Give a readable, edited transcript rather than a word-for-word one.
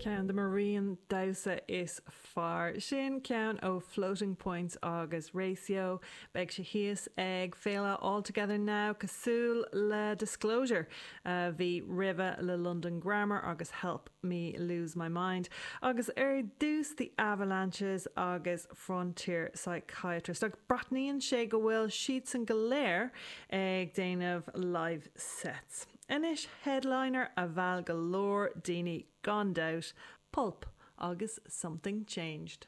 Ceann de mo rian damhsa is fearr. Sin ceann ó Floating Points agus Ratio. Beidh sé thíos ag Féile All Together Now cosúil le Disclosure a bhí roimhe le London Grammar agus Help Me Lose My Mind. Agus ar dtús The Avalanches agus Frontier Psychiatrist. Ach breathnaíonn sé go bhfuil siadsan go léir ag déanamh live sets. Anois headliner a mheall go leor daoine gan dabht, Pulp agus Something Changed.